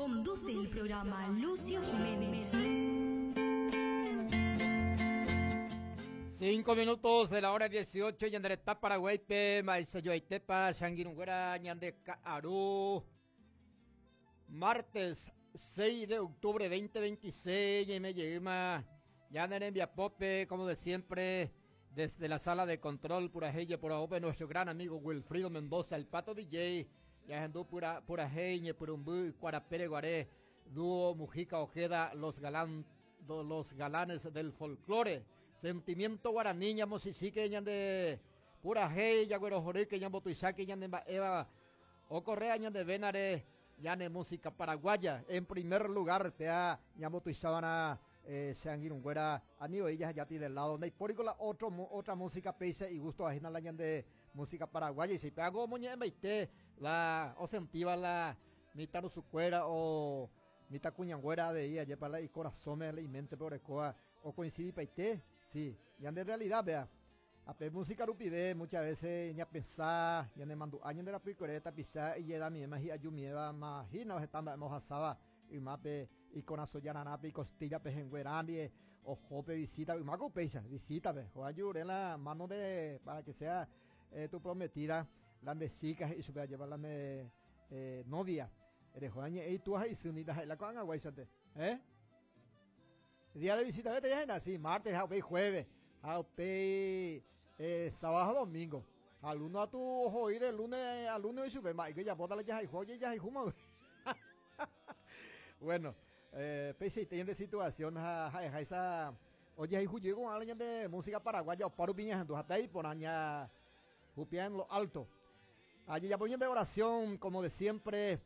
Conduce el programa Lucio Jiménez. 5 minutos de la hora 18, ñande retã Paraguáipe, mba'eichajoaitépa che angirũnguéra ñande ka'aru. Martes 6 de octubre 2026, ñaime jeýma ñane rembiapópe, como de siempre, desde la sala de control purahéi jeporavópe nuestro gran amigo Wilfrido Mendoza, el Pato DJ, ñahendu pura, purahéi ñepyrũmby Ykuarapére guare, dúo Mujica Ojeda, los, galán, los galanes del folclore, sentimiento guaraní ñamochichíke ñande purahéi jaguerohorýke ñambotuicháke ñande mba'éva okorrea ñande vénare ñane música paraguaya en primer lugar péa ñambotuichava'erã Che angirũnguéra, ani voi jahejáti de lado, ndaipóriko la otro otra música péicha igústova hína la ñande música paraguaya ichupe. Ág̃a omoñe'ẽmbaite la osentíva la mitãrusukuéra o mitãkuñanguéra avei, ajépa la ikorasõme, la iméntepe orekóva okoinsidipaite. Si, ñande realidad péa. Ha pe música rupive muchas veces ñapensa, ñanemandu'a ñande rapykuere tapicha ijedamiéma hi'ajumiéva ma hína heta mba'éma ohasáva ymápe ikorasõ jararãpe ikostilla pehẽngue rã ndive oho pe visita ymáko upéicha visítape oajure la mano de para que sea tu prometida la nde chica he'i chupe ajépa la nde novia reho añe'ẽ itúa ha isy ndaha'éi la ko'ag̃aguáichante eh Día de visita vete ya sí, martes ha upéi jueves ha upéi sábado ha domingo. Ha luno atu oho'i de lunes a lunes oichupe mba'éiko ijapóta la jahayhu ojejahayhúma. Bueno, peichaite ñande situación ha ha'eháicha ojehayhu jey ko'ã la ñande música paraguaya opárupi ñahendu ha péi iporã ña jupia en lo alto. Ajejapo ñande oración como de siempre.